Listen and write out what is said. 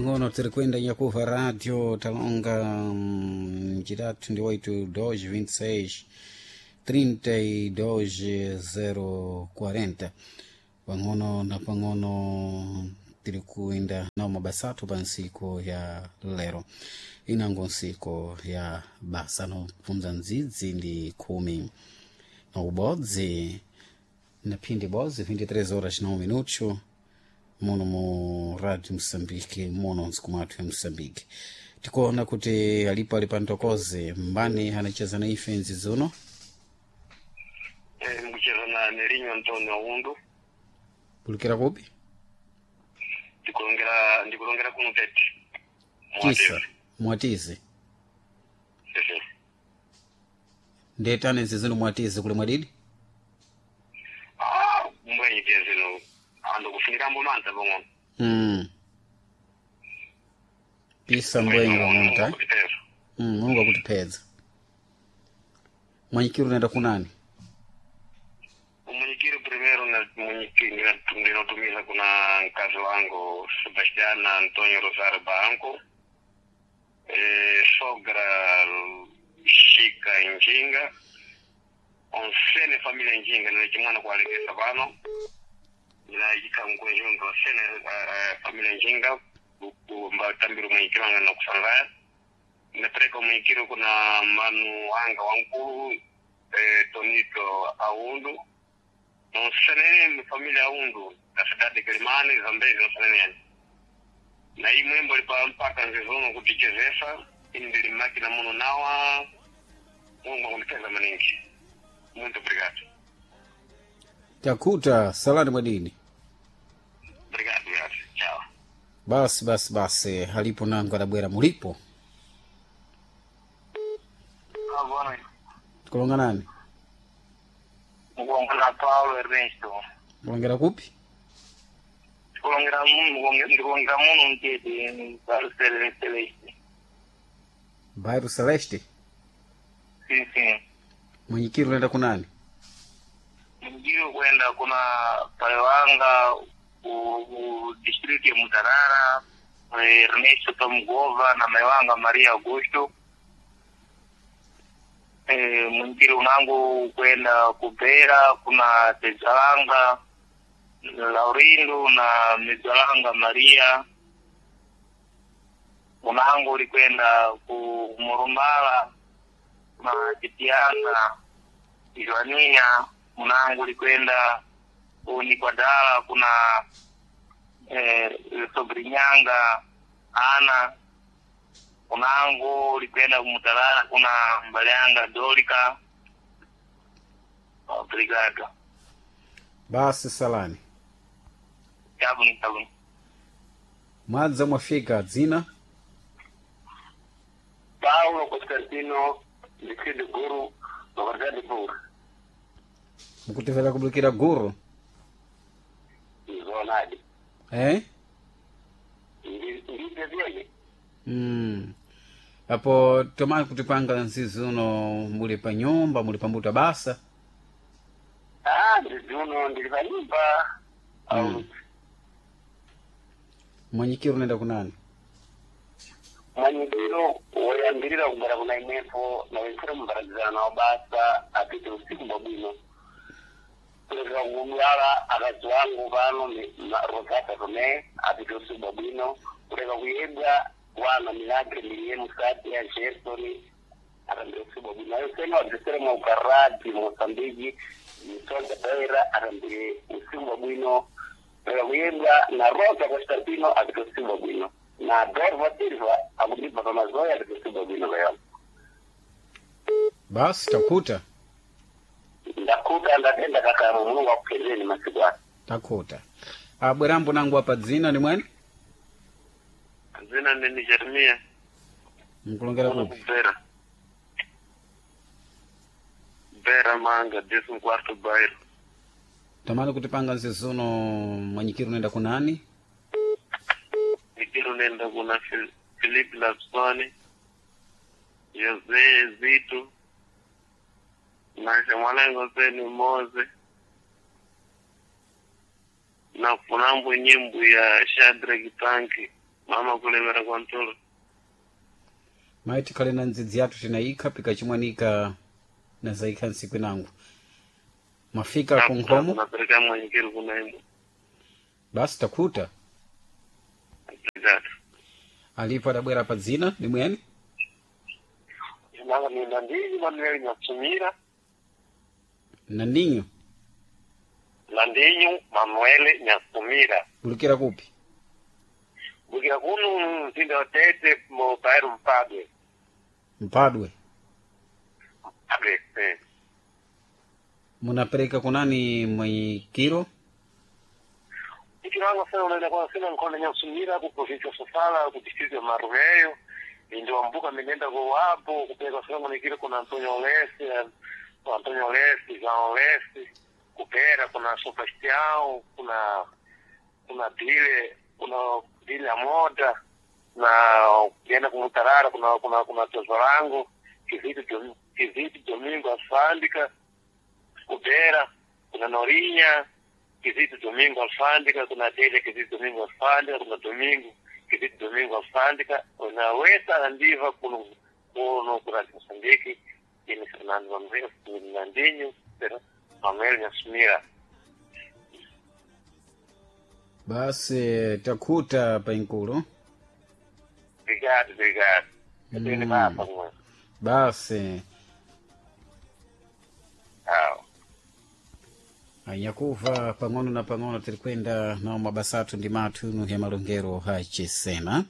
pang'ono tiri kuenda nyakuva radio talonga chitatu ndi 8 2 26 32 040 pang'ono na pang'ono tiri kuenda nawo mabasa athu pa ntsiku ya lero inango ntsiku ya basa nopfunza ndzidzi ndi khumi na ubodzi na phindi bodzi 23 horas na 1 minuto muno mu radio Moçambique muno ntsiku mwathu ya Moçambique tikuona kuti alipo ali pantokoze mbani anacheza na ife nzizuno. Mukucheza na Nerinho Antonio Aundo. Pulikira kupi? Ndikulongera kuno Tete. Tisa mwatize. Sim. Ndetane nzizino mwatize kuli mwadidi. Ah, mwenye tezino ando kufunikambo manza pang'ono. Pisa mbwenyi pang'ono ta. Kutipeza. Mulungu akutipedza. Mwanyikiro unaenda kunani? Umunyikiri primeiro na munyikiri ndinotumiza kuna mkazi wangu Sebastiana Antonio Rosario Banco, sogra Shika Njinga, onsene família Njinga nilechimwana kualekesa pano ndinayika mkwenjundu onsene família Njinga mbatambira umunyikiri wanga nakusangaya ndapereka umunyikiri kuna manu wanga wankulu Tonito Aundu nonsenene família Aundu da cidade de Quelimane, Zambezi, nonsenene na hii mwembo lipa mpaka nzizono kutichezesa ini ndili makina muno nawa. Mungu akundipeza maningi. Muito obrigado. Takuta salani mwadini. Obrigado, obrigado. Tchau. Basi basi basi halipo nangu adabwera mulipo. Boa noite. Tikulonga nani? Mukulongera Paulo Ernesto. Kulongera kupi? Ndikulongera muno, ndikulongera muno mtete bairro Celeste. Bairro Celeste. Sim, sim. Mwenyikiri unaenda kunani? Mjiri kwenda kuna Paiwanga ku district ya Mutarara, Ernesto Tomgova na Maiwanga Maria Augusto. Mwingiri unangu kwenda kubera kuna Tezalanga Laurindo na Mizalanga Maria. Unangu ulikwenda ku Murumbala na Titianga Joania. Unangu ulikwenda ku Nikwadala kuna Sobrinyanga Ana. Unangu ulikwenda Mutalala kuna Mbalianga Dorika. Obrigado. Basi salani. Chabuni chabuni. Mwadza mwafika dzina? Paulo Constantino Liquid Guru Localidade Guru. Mukutivela kubulikira guru. Zonadi. Eh? Ndivyo vyeye. Apo tomani kutipanga nzizuno muli pa nyumba muli pambuta basa. Ah, ndizuno ndili pa nyumba. Mwanyikiri unaenda kunani? Mwanyikiro woyambirira kugara kuna imwepo na wensere mumbaradzana nawo basa apite usiku bwabwino kulekera kudwala akazi wangu pano Rosata Tome apite usiku bwabwino kuleka kuyebwa wana Milagre Milie Musati ya Gerson atambire usiku bwabwino ayo sena wadzesere mwa ukarati Mosambiki Msonda Beira atambire usiku bwabwino kuleka kuyebwa na Rosa Constantino apite usiku bwabwino na Dorva Silva akundibva pamazoya apite usiku bwabwino kayona. Basi takuta. Ndakuta ndatenda kakaro Mulungu akupezeni masiku ano. Takuta. Abwerambo nangu apa dzina ni mwene? Zina ndini Jeremia. Mkulongera kupi? Kubera. Bera Manga, décimo quarto bairro. Tamani kutipanga nzizuno mwanyikiri unaenda kunani? Nikiro nenda kuna Filipe Lapsoni, José Zito, na Shamalengo Zeni Moze, na kunambo nyimbo ya Shadrack Tanki. Mama kulemera kwa mtolo. Mayi tikhale na ndzidzi yathu tinayikha pikachimwanika na zayikha ntsiku inango. Mwafika ku nkhomo? Napereka mwanyikiro kuna imwe. Basi takhuta. Obrigado. Alipo adabwera pa dzina limweni? Nanga ni Nandinho Manuel Nyatsumira. Nandinho. Nandinho Manuel Nyatsumira. Bulukira kupi? Bukira kuno mzinda wa Tete mu bairro Mpadwe. Mpadwe. Mpadwe, eh. Munapereka kunani mwikiro? Ikiranga sena unaenda kwa sena nkonda Nyatsumira ku província ya Sofala ku distrito ya Marumeyo. Ndio ambuka minenda kwa wapo kupeleka sena mwenyekiro kuna Antonio Lesse, Antonio Lesse, João Lesse, kupera kuna Sebastião, kuna Dile, kuna Dile ya Moda na ukienda kumutarara kuna Tezorango, Kizito Domingo Alfândega, Kubera, kuna Norinha, Kizito Domingo Alfândega, kuna Delia Kizito Domingo Alfândega, kuna Domingo Kizito Domingo Alfândega, kuna Weta Andiva kuno kuno kuna Moçambique, ini Fernando Manuel Nandinho, Manuel Nyassumira. Basi takhuta painkulo. Obrigado, obrigado. Eu tenho mapa, mano. Basi Tchau. anyakuva pang'ono na pang'ono tiri kwenda nawo mabasa athu ndi mathu inu ya malongero ha chisena.